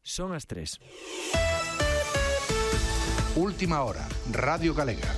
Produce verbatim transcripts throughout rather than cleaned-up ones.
Son as tres. Última hora, Radio Galega.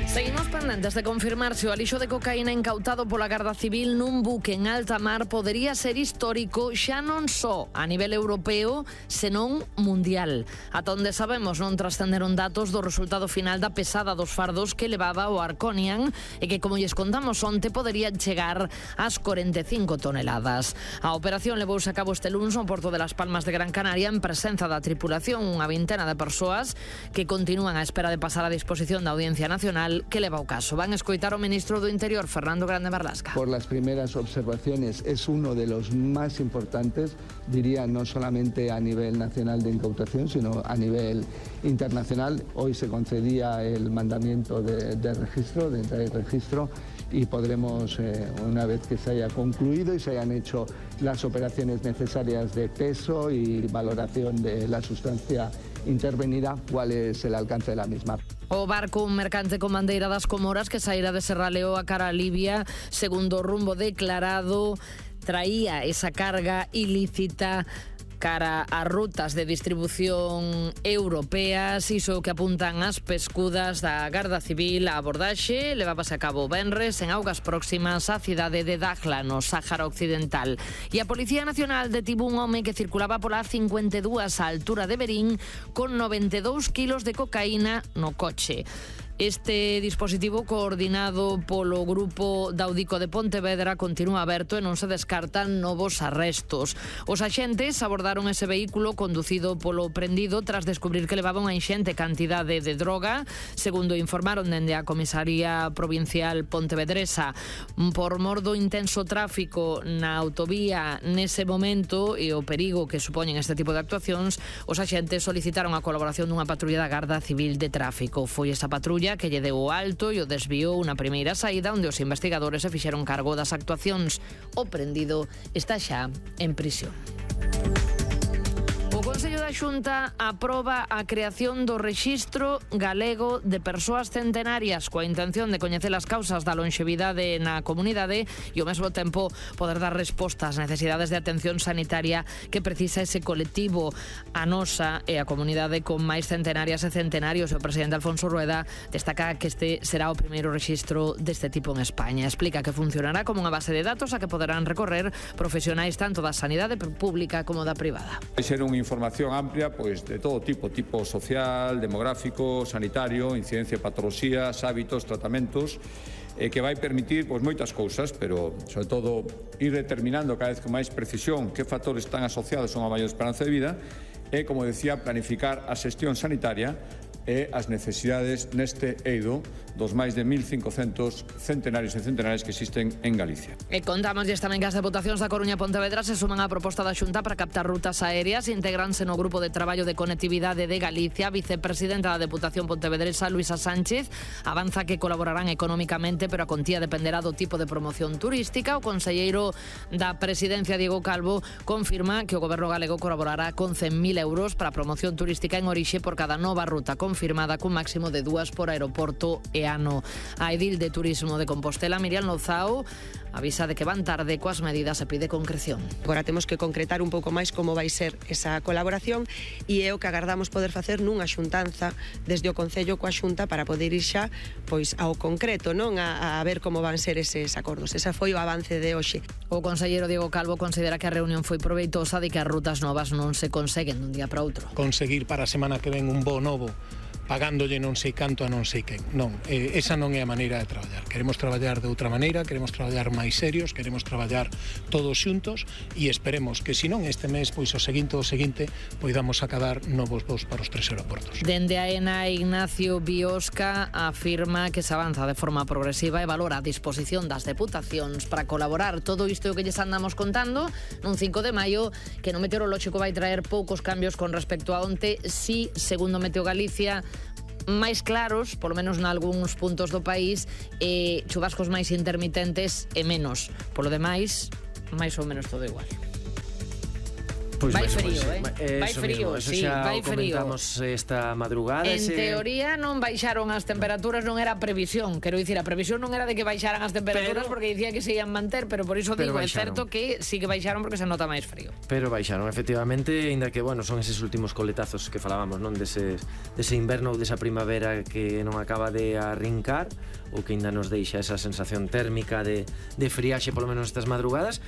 Seguimos pendentes de confirmarse o alixo de cocaína incautado pola Garda Civil nun buque en alta mar podería ser histórico xa non só a nivel europeo, senón mundial. Ata onde sabemos non trascenderon datos do resultado final da pesada dos fardos que levaba o Arconian e que, como lles contamos onte, poderían chegar ás cuarenta e cinco toneladas. A operación levouse a cabo este luns no Porto de Las Palmas de Gran Canaria en presenza da tripulación, unha vintena de persoas que continúan á espera de pasar a disposición da Audiencia Nacional que leva o caso. Van a escoitar o ministro do Interior, Fernando Grande Marlasca. Por las primeras observaciones es uno de los más importantes, diría, no solamente a nivel nacional de incautación, sino a nivel internacional. Hoy se concedía el mandamiento de, de registro, de entrada y registro, y podremos, eh, una vez que se haya concluido y se hayan hecho las operaciones necesarias de peso y valoración de la sustancia intervenida, cuál es el alcance de la misma. O barco, un mercante con bandeira das Comoras que saíra de Serraleo a cara a Libia, segundo o rumbo declarado, traía esa carga ilícita cara a rutas de distribución europeas, iso que apuntan as pescudas da Garda Civil. A abordaxe levábase a cabo venres en augas próximas á cidade de Dakhla, no Sáhara Occidental. E a Policía Nacional detivo un home que circulaba pola cincuenta e dúas á altura de Verín con noventa e dous kilos de cocaína no coche. Este dispositivo, coordinado polo Grupo Daudico de Pontevedra, continúa aberto e non se descartan novos arrestos. Os axentes abordaron ese vehículo conducido polo prendido tras descubrir que levaba unha inxente cantidade de droga, segundo informaron dende a Comisaría Provincial Pontevedresa. Por mor do intenso tráfico na autovía nese momento e o perigo que supoñen este tipo de actuacións, os axentes solicitaron a colaboración dunha patrulla da Garda Civil de Tráfico. Foi esa patrulla que lle deu o alto e o desviou unha primeira saída onde os investigadores se fixeron cargo das actuacións. O prendido está xa en prisión. O Consello da Xunta aproba a creación do Rexistro Galego de Persoas Centenarias coa intención de coñecer as causas da lonxevidade na comunidade e ao mesmo tempo poder dar resposta ás necesidades de atención sanitaria que precisa ese colectivo. A nosa e a comunidade con máis centenarias e centenarios. O presidente Alfonso Rueda destaca que este será o primeiro rexistro deste tipo en España. Explica que funcionará como unha base de datos a que poderán recorrer profesionais tanto da sanidade pública como da privada. Información amplia, pois de todo tipo, tipo social, demográfico, sanitario, incidencia de patoloxías, hábitos, tratamentos, eh, que vai permitir pois moitas cousas, pero sobre todo ir determinando cada vez con máis precisión que factores están asociados a unha maior esperanza de vida e, como decía, planificar a xestión sanitaria e as necesidades neste eido dos máis de mil cincocentos centenarios e centenarias que existen en Galicia. E contámosles tamén que as deputacións da Coruña e Pontevedra se suman á proposta da Xunta para captar rutas aéreas, integranse no Grupo de Traballo de Conectividade de Galicia. A vicepresidenta da Deputación Pontevedresa, Luisa Sánchez, avanza que colaborarán económicamente, pero a contía dependerá do tipo de promoción turística. O conselleiro da Presidencia, Diego Calvo, confirma que o Goberno galego colaborará con cen mil euros para a promoción turística en orixe por cada nova ruta confirmada, cun máximo de dúas por aeroporto e ano. A edil de Turismo de Compostela, Miriam Lozao, avisa de que van tarde coas medidas e pide concreción. Agora temos que concretar un pouco máis como vai ser esa colaboración e é o que agardamos poder facer nunha xuntanza desde o Concello coa Xunta para poder ir xa pois ao concreto, non a, a ver como van ser eses acordos. Esa foi o avance de hoxe. O conselleiro Diego Calvo considera que a reunión foi proveitosa e que as rutas novas non se conseguen dun día para outro. Conseguir para a semana que ven un voo novo pagándolle non sei canto a non sei quen. Non, eh, esa non é a maneira de traballar. Queremos traballar de outra maneira, queremos traballar máis serios, queremos traballar todos xuntos e esperemos que, se non este mes, pois o seguinte o seguinte, poidamos acabar novos voos para os tres aeroportos. Dende a ENA, Ignacio Biosca afirma que se avanza de forma progresiva e valora a disposición das deputacións para colaborar. Todo isto que lles andamos contando nun cinco de maio, que no meteorolóxico vai traer poucos cambios con respecto a onte. Si, segundo Meteo Galicia, máis claros, polo menos nalgúns puntos do país, e chuvascos máis intermitentes e menos. Polo demais, máis ou menos todo igual. Pois vai mesmo, frío, pois, eh? Vai eso frío, mismo, eso sí, xa vai o frío. comentamos esta madrugada. En ese... teoría non baixaron as temperaturas, non era previsión. Quero dicir, a previsión non era de que baixaran as temperaturas Pero- porque dicía que se ian manter, pero por iso Pero digo, é baixaron. certo que sí que baixaron porque se nota máis frío. Pero baixaron, efectivamente, ainda que, bueno, son eses últimos coletazos que falábamos, non? Dese, dese inverno ou desa primavera que non acaba de arrincar, ou que ainda nos deixa esa sensación térmica de, de friaxe, polo menos estas madrugadas.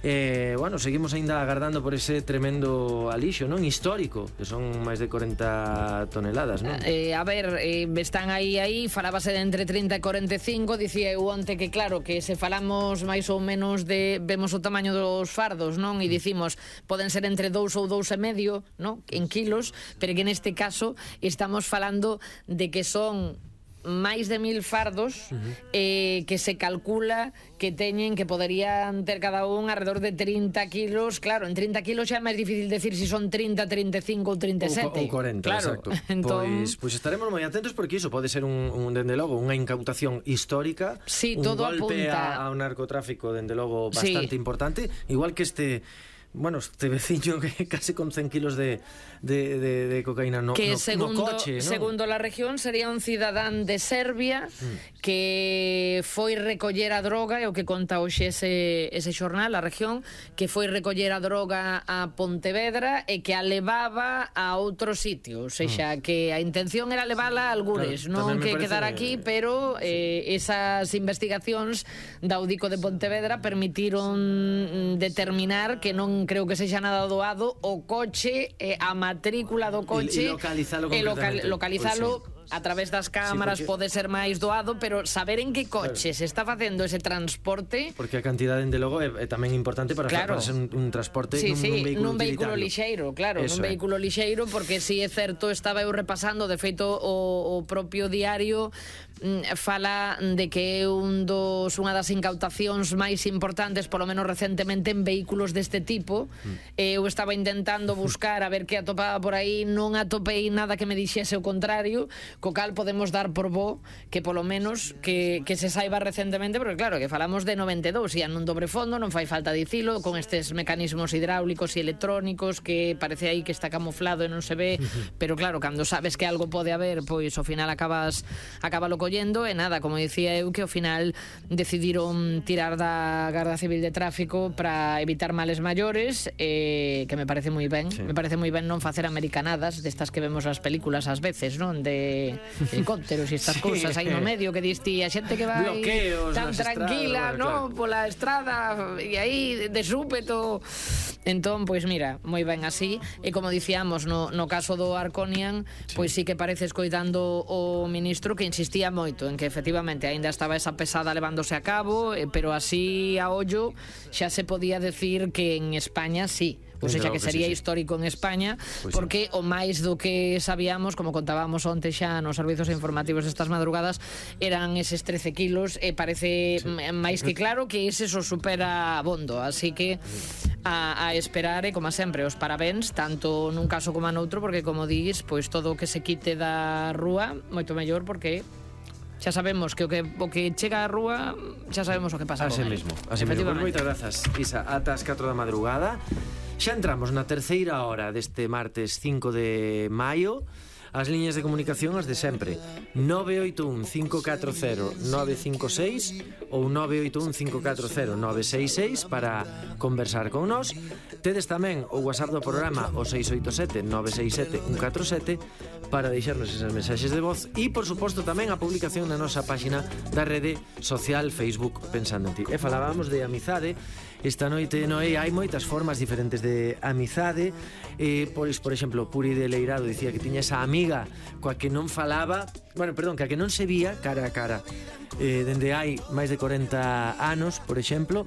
Eh, bueno, seguimos ainda agardando por ese tremendo alixo, non? Histórico, que son máis de corenta toneladas, non? Eh, a ver, eh, están aí aí, falábase de entre trinta e corenta e cinco, dicía eu onte que claro, que se falamos máis ou menos de, vemos o tamaño dos fardos, non? E dicimos, poden ser entre dous ou dous e medio, non? En kilos, pero que neste caso estamos falando de que son máis de mil fardos uh-huh. eh, que se calcula que teñen, que poderían ter cada un alrededor de trinta kilos. Claro, en trinta kilos xa é máis difícil decir se si son trinta, trinta e cinco ou trinta e sete. Ou corenta, claro. exacto. Entón... Pois, pois estaremos moi atentos porque iso pode ser un, un dende logo unha incautación histórica, sí, un todo golpe apunta... a, a un narcotráfico dende logo bastante sí. importante, igual que este... Bueno, este veciño que casi con cen kilos de, de, de, de cocaína no, que no, segundo, no coche, ¿no? Segundo la región sería un cidadán de Serbia mm. que foi recoller a droga, é o que conta hoxe ese, ese xornal, a región, que foi recoller a droga a Pontevedra e que a levaba a outro sitio, ou seja, mm. que a intención era levala a algures, claro, non que quedar aquí, pero eh, esas investigacións da Audico de Pontevedra permitiron determinar que non creo que sexa nada doado o coche, eh, a matrícula do coche e, e localizalo e local, concretamente. localizalo Pois sí. a través das cámaras, sí, porque... pode ser máis doado, pero saber en que coche claro. se está facendo ese transporte, porque a cantidade de logo é, é tamén importante para, claro. para ser un, un transporte sí, nun, sí, nun vehículo, nun vehículo lixeiro, claro, Eso nun é. vehículo lixeiro, porque si é certo, estaba eu repasando, de feito o, o propio diario fala de que é un dos, unha das incautacións máis importantes, polo menos recentemente, en vehículos deste tipo. Mm. Eu estaba intentando buscar a ver que atopaba por aí, non atopei nada que me dixese o contrario, co cal podemos dar por bo que polo menos que, que se saiba recentemente, porque claro, que falamos de noventa e dous, e nun dobre fondo, non fai falta dicilo, con estes mecanismos hidráulicos e electrónicos que parece aí que está camuflado e non se ve, pero claro, cando sabes que algo pode haber, pois ao final acabas acabalo collendo, e nada, como dicía eu, que ao final decidiron tirar da Garda Civil de Tráfico para evitar males maiores, eh, que me parece moi ben, sí. me parece moi ben non facer americanadas destas que vemos nas películas ás veces, non? De helicópteros e estas sí. cousas aí no medio que diste a xente que vai bloqueos tan tranquila, estradas, no? Claro. Pola estrada e aí de súpeto. Entón, pois mira, moi ben así, e como dicíamos no, no caso do Arconian, sí. pois sí que parece escoitando o ministro que insistía moito en que efectivamente aínda estaba esa pesada levándose a cabo, eh, pero así a ollo xa se podía decir que en España sí. Ou seja, que sería sí, sí. histórico en España, pues porque sí. o máis do que sabíamos, como contábamos onte xa nos servizos informativos destas madrugadas, eran eses trece kilos, e parece sí. máis que claro que ese so supera abondo, así que a, a esperar, e como sempre, os parabéns, tanto nun caso como noutro, porque como dís, pois todo o que se quite da rúa, moito mellor, porque xa sabemos que o que o que chega á rúa xa sabemos o que pasa. Así mesmo, así mesmo. Pues moitas grazas, Isa, ata as catro da madrugada. Xa entramos na terceira hora deste martes cinco de maio. As liñas de comunicación as de sempre: nove oito un cinco catro cero nove cinco seis ou nove oito un cinco catro cero nove seis seis para conversar con nós. Tedes tamén o WhatsApp do programa, o seis oito sete nove seis sete un catro sete, para deixarnos esas mensaxes de voz, e por suposto tamén a publicación na nosa páxina da rede social Facebook Pensando en Ti. E falábamos de amizade esta noite, Noé, hai moitas formas diferentes de amizade. Eh, por, por exemplo, Puri de Leirado dicía que tiña esa amiga coa que non falaba, bueno, perdón, coa que non se vía cara a cara eh, dende hai máis de corenta anos, por exemplo.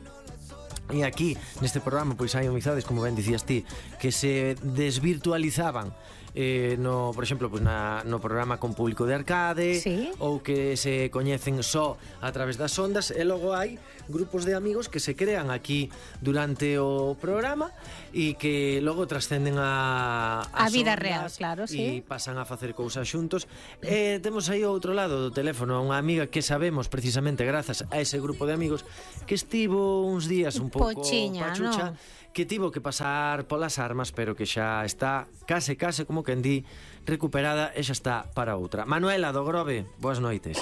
E aquí, neste programa, pois hai amizades, como ben dicías ti, que se desvirtualizaban eh, no, por exemplo, pues na, no programa con público de arcade, ¿sí? Ou que se coñecen só a través das ondas, e logo hai grupos de amigos que se crean aquí durante o programa e que logo trascenden a, a vida real, claro, sí. E pasan a facer cousas xuntos. E temos aí ao outro lado do teléfono a unha amiga que sabemos precisamente grazas a ese grupo de amigos que estivo uns días un pouco Pochiña, pachucha, ¿no? que tivo que pasar polas armas, pero que xa está case, case, como quen di, recuperada e xa está para outra. Manuela do Grove, boas noites.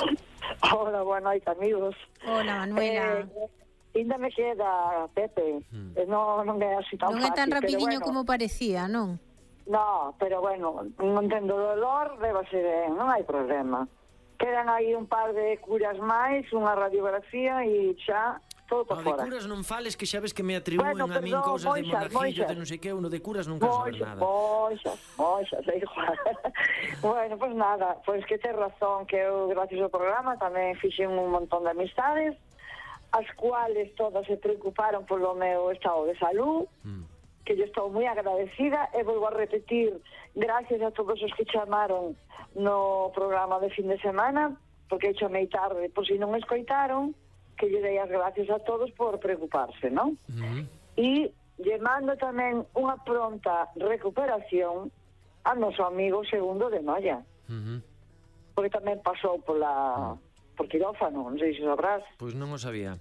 Hola, boa noite, amigos. Hola, Manuela. Eh, ainda me queda, Pepe, mm. non, non é así tan non fácil. Non é tan rapidiño bueno, como parecía, non? No, pero bueno, non tendo dolor, levase ben, non hai problema. Quedan aí un par de curas máis, unha radiografía e xa todo para fora. No, de curas non fales, que xa ves que me atribúen bueno, a min cousas de monajillo, de non sei que, uno de curas nunca saber nada. Moixas, moixas, é igual. Bueno, pois pues nada, pois pues que tes razón, que eu, gracias ao programa, tamén fixen un montón de amistades, as cuales todas se preocuparon polo meu estado de salud, mm. que yo estou moi agradecida, e volvo a repetir, gracias a todos os que chamaron no programa de fin de semana, porque chamei tarde, por si non escoitaron, que lle dei as gracias a todos por preocuparse, non? Uh-huh. E lle mando tamén unha pronta recuperación a noso amigo Segundo de Noia, uh-huh. porque tamén pasou pola, por quirófano, non sei se sabrás. Pois non o sabía.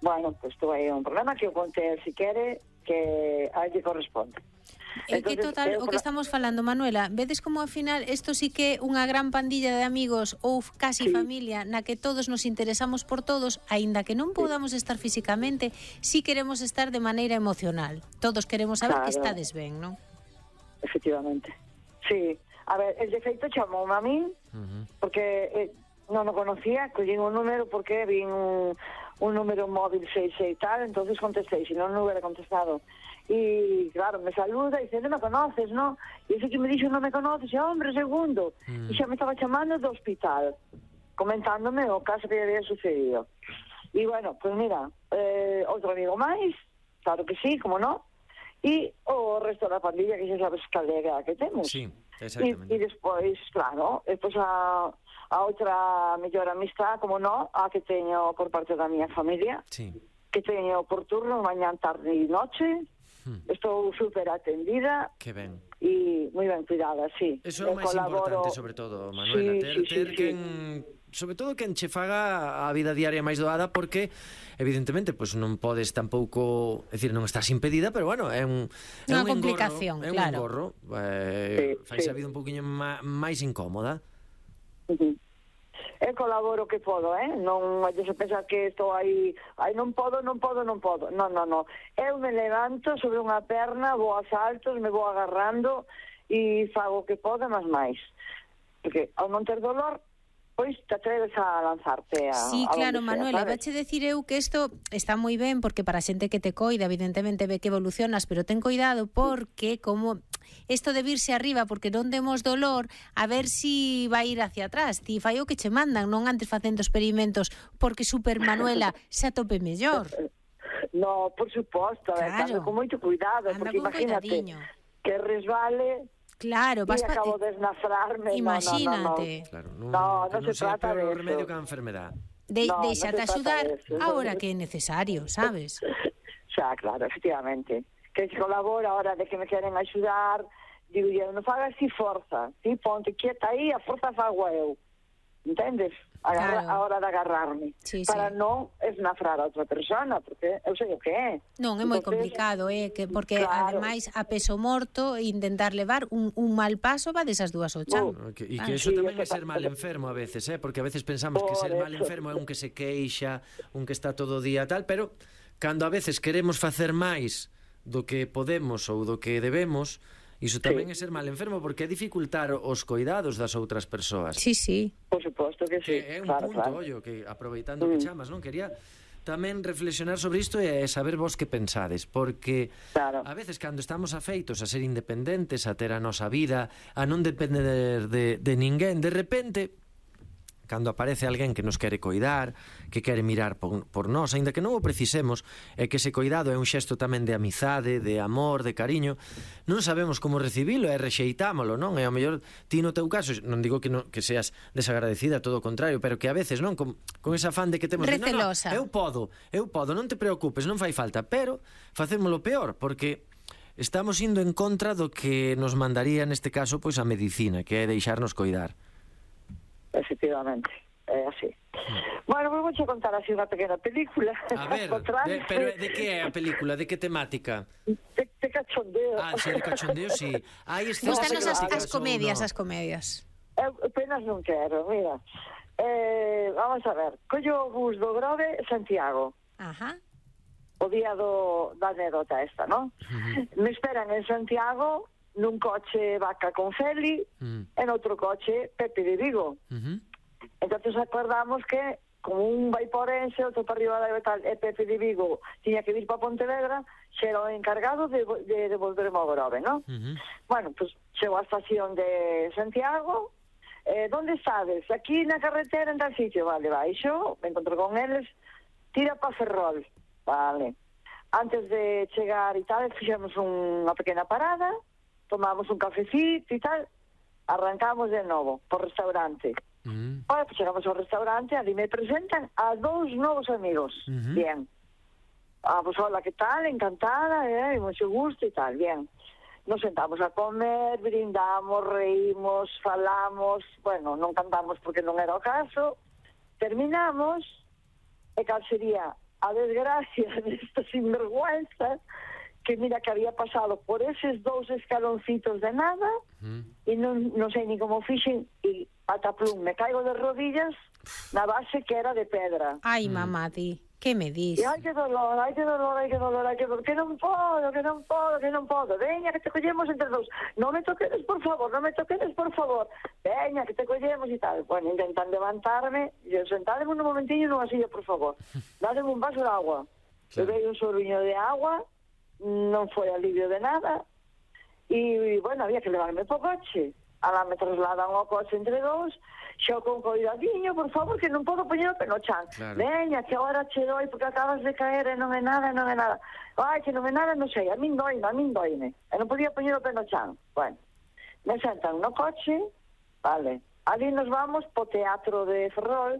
Bueno, pois pues, aí un problema que eu contei, si quere, que a lle corresponde. É que total, o que estamos falando, Manuela, vedes como ao final isto sí que é unha gran pandilla de amigos ou casi sí. familia na que todos nos interesamos por todos, aínda que non podamos estar físicamente, sí queremos estar de maneira emocional. Todos queremos saber claro. que estades ben, non? Efectivamente. Sí. A ver, el de feito chamoume a min, uh-huh. porque eh, non o conocía, collín un número porque vin un, un número móvil seis seis tal, entonces contestei, se non non hubiera contestado. Y claro, me saluda y dice, non me conoces, ¿no? Y ese que me dixo, non me conoces, e hombre, Segundo. Mm. E xa me estaba chamando do hospital, comentándome o caso que había sucedido. Y bueno, pues mira, eh, outro amigo máis, claro que sí, como no, e o resto da pandilla, que xa sabes calega que temos. Sí, exactamente. E despois, claro, despois a, a outra mellor amistad, como no, a que teño por parte da miña familia, sí. que teño por turno, mañán, tarde e noche. Hmm. Estou super atendida. Que ben. E moi ben cuidada, sí. Eso é o máis colaboro... importante, sobre todo, Manuela, sí, ter, sí, ter sí, quen... Sí. Sobre todo quen che faga a vida diaria máis doada, porque evidentemente pues, non podes tampouco, é dicir, non estás impedida, pero bueno, é un é unha un complicación, engorro, claro. É un engorro, eh, sí, fai sí. a vida un poquinho má, máis incómoda. Uh-huh. Eu colaboro que podo, eh? Non vai se pensar que estou aí, aí non podo, non podo, non podo. Non, non, non. Eu me levanto sobre unha perna, vou a saltos, me vou agarrando e fago o que podo, mas máis. Porque ao non ter dolor, pois te atreves a lanzarte a... Sí, claro, Manuela, vache decir eu que isto está moi ben, porque para a xente que te coida, evidentemente ve que evolucionas, pero ten cuidado porque como isto de virse arriba porque non demos dolor, a ver si vai ir hacia atrás. Ti fai o que che mandan, non antes facendo experimentos porque Super Manuela se atope mellor. No, por suposto, claro. con moito cuidado, anda porque imagínate cuidadiño. Que resbale... Claro, vas y acabo de esnafrarme. Imagínate. No, no, no. No, no, no, no se trata de eso. Remedio que a enfermedad. De, no, déxate no axudar ahora que é necesario, sabes? Xa, claro, efectivamente. Que se colabora ahora de que me queren axudar, digo, eu non fagas así forza, si ponte quieta aí, a forza fago eu. Entendes? Agarra, claro. A hora de agarrarme sí, para sí. non esnafrar a outra persona, porque eu sei o que é. Non, é moi complicado, eh, que porque claro. ademais a peso morto intentar levar un, un mal paso va desas dúas ao chan. Uh, que, e que eso sí, tamén é ser mal enfermo a veces, eh, porque a veces pensamos que ser mal enfermo é un que se queixa, un que está todo o día tal, pero cando a veces queremos facer máis do que podemos ou do que debemos, iso tamén sí. é ser mal enfermo, porque é dificultar os cuidados das outras persoas. Sí, sí. Por suposto que sí. Que é un claro, punto, claro. ollo, que aproveitando mm. que chamas, non? Quería tamén reflexionar sobre isto e saber vos que pensades, porque claro. a veces cando estamos afeitos a ser independentes, a ter a nosa vida, a non depender de, de ninguén, de repente... cando aparece alguén que nos quere coidar, que quere mirar por, por nós, aínda que non o precisemos, é que ese coidado é un xesto tamén de amizade, de amor, de cariño, non sabemos como recibilo e rexeitámolo, non? E ao mellor ti no teu caso, non digo que, no, que seas desagradecida, todo o contrario, pero que a veces, non? Con, con ese afán de que temos... Recelosa. De, no, no, eu podo, eu podo, non te preocupes, non fai falta, pero facémolo peor, porque... estamos indo en contra do que nos mandaría neste caso pois a medicina, que é deixarnos coidar. Efectivamente, é así. Bueno, pues vou contar así unha pequena película. A ver, de, pero de que é a película? De que temática? De, de cachondeo. Ah, sí, de cachondeo, sí. Hai escenas Gustanos as, eróticas as comedias, ou no? as comedias. Eu apenas non quero, mira. Eh, vamos a ver. Collo o bus do Grove Santiago. Ajá. O día do, da anécdota esta, non? Uh-huh. Me esperan en Santiago nun coche Vaca con Feli Uh-huh. e noutro coche Pepe de Vigo. Uh-huh. Entonces acordamos que como un vai por Orense, outro para arriba da tal, e Pepe de Vigo tiña que vir para Pontevedra, xe era o encargado de, de devolverme ao Grove, non? Uh-huh. Bueno, pues chego á estación de Santiago. Eh, ¿Dónde sabes? Aquí na carretera, en tal sitio. Vale, baixo, me encontro con eles, tira pa Ferrol. Vale. Antes de chegar e tal, fixemos unha pequena parada, tomamos un cafecito e tal, arrancamos de novo por restaurante. Uh-huh. Bueno, pues chegamos ao restaurante, ali me presentan a dous novos amigos. Uh-huh. Bien. Ah, pues hola, ¿qué tal? Encantada, eh, mucho gusto y tal, bien. Nos sentamos a comer, brindamos, reímos, falamos, bueno, non cantamos porque non era o caso, terminamos, e cal sería a desgracia desta sinvergüenza, que mira que había pasado por eses dous escaloncitos de nada, Uh-huh. e non, non sei ni como fixen, e pataplum, me caigo de rodillas na base que era de pedra. Ai, mamá, ti, que me dis? E ai que dolor, ai que dolor, ai que dolor, ai que dolor, que non podo, que non podo, que non podo. Veña, que te collemos entre dous. Non me toquedes, por favor, non me toquedes, por favor. Veña, que te collemos e tal. Bueno, intentan levantarme, e eu sentademe un momentinho nunha silla, por favor. Dádeme un vaso de agua. Claro. Bebei un sorbiño de agua, non foi alivio de nada, e, bueno, había que levarme po coche. Alá me trasladan ao coche entre dous, xo con coidadiño, por favor, que non podo poñer o pé no chan. Claro. Veña, que agora che doi porque acabas de caer e non é nada, non é nada. Ai, que non é nada, non sei, a min doime, a min doime. E non podía poñer o pé no chan. Bueno, me sentan no coche, vale. Ali nos vamos po teatro de Ferrol,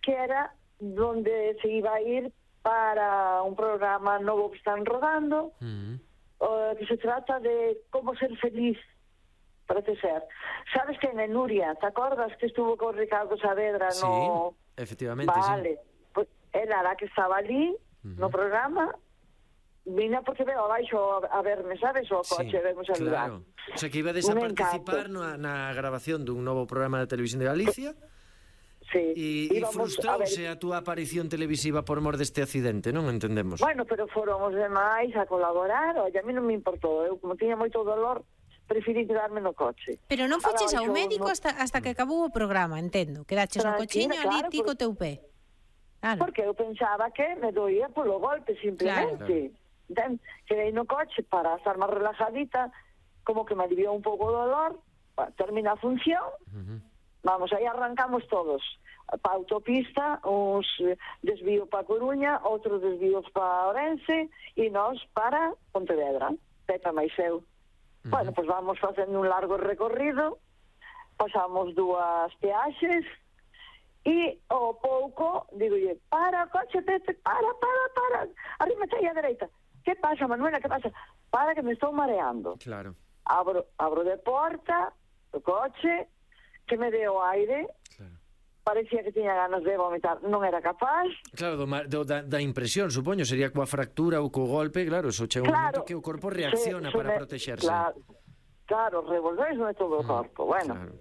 que era donde se iba a ir para un programa novo que están rodando, Uh-huh. uh, que se trata de como ser feliz, parece ser. ¿Sabes que en Nuria, te acordas que estuvo con Ricardo Saavedra Sí, no... efectivamente, Vale, sí. pues era la que estaba ali, Uh-huh. no programa, vine porque veo abaixo a, a verme, sabes, o coche, Sí, vemos a lugar. claro. O sea, que ibades a Un participar encanto. na, na grabación dun novo programa de televisión de Galicia Sí, e, e íbamos frustrouse a ver- a túa aparición televisiva por mor deste accidente, non entendemos? Bueno, pero foron os demais a colaborar, oye, a mí non me importou, eu como tiña moito dolor, preferi quedarme no coche. Pero non foches ao Abaixo, médico no- hasta, hasta que acabou o programa, entendo. Quedaches no Tranquila, cochiño ali claro, ti co por- teu pé. Claro. Porque eu pensaba que me doía polo golpe, simplemente. Claro. Quedei no coche para estar máis relajadita, como que me aliviou un pouco o dolor, bueno, termina a función, Uh-huh. vamos, aí arrancamos todos. Pa autopista, uns eh, desvío pa Coruña, outros desvíos pa Orense, e nós para Pontevedra, Pepa máis eu. Uh-huh. Bueno, pois vamos facendo un largo recorrido, pasamos dúas peaxes, e ao pouco, digolle, para, coche, Pepe, para, para, para, arrímate aí a dereita. Que pasa, Manuela, que pasa? Para que me estou mareando. Claro. Abro, abro de porta, do coche, que me deu aire, Claro. parecía que tiña ganas de vomitar, non era capaz. Claro, do, ma- do, da, da impresión, supoño, sería coa fractura ou co golpe, claro, eso chega un Claro, momento que o corpo reacciona se- se para me- protexerse. Claro, claro, revolvéisme todo o corpo. Bueno, Claro.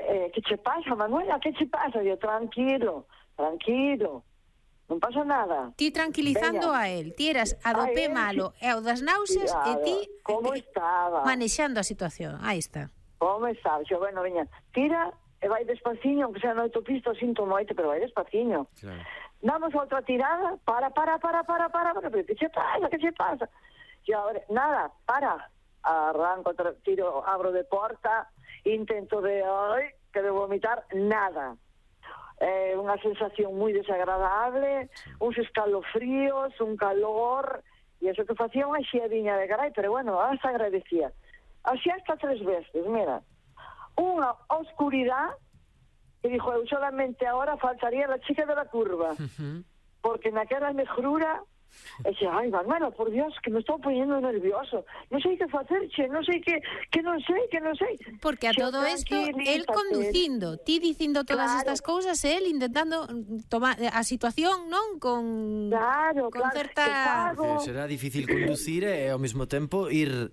eh, que che pasa, Manuela? Que che pasa? Yo, tranquilo, tranquilo, non pasa nada. Ti tranquilizando Veña. a él, ti eras a do A pé él, malo e o das náuseas e Cuidado, ti como eh, estaba? manexando a situación. Aí está. Como sabes? Yo, bueno, veña, tira e vai despaciño, aunque sea no autopista, sinto moito, pero vai despaciño. Claro. Damos outra tirada, para, para, para, para, para, para, pero que che pasa, que che pasa? E agora, nada, para, arranco, tra- tiro, abro de porta, intento de, ai, que de vomitar, nada. Eh, unha sensación moi desagradable, uns escalofríos, un calor, e eso que facía unha xiadiña de carai, pero bueno, hasta agradecía. Así hasta tres veces, mira. Unha oscuridad que dijo, eu solamente ahora faltaría la chica de la curva, Uh-huh. porque naquela mejrura E xe, ai, Manuela, por Dios, que me estou poñendo nervioso. Non sei que facer, che, non sei que, que non sei, que non sei. Porque a Xe, todo isto, el tranquilízate. conducindo, ti dicindo todas Claro. estas cousas, e el intentando tomar a situación, non? Con, Claro, con claro, certa... que fago. Que será difícil conducir e ao mesmo tempo ir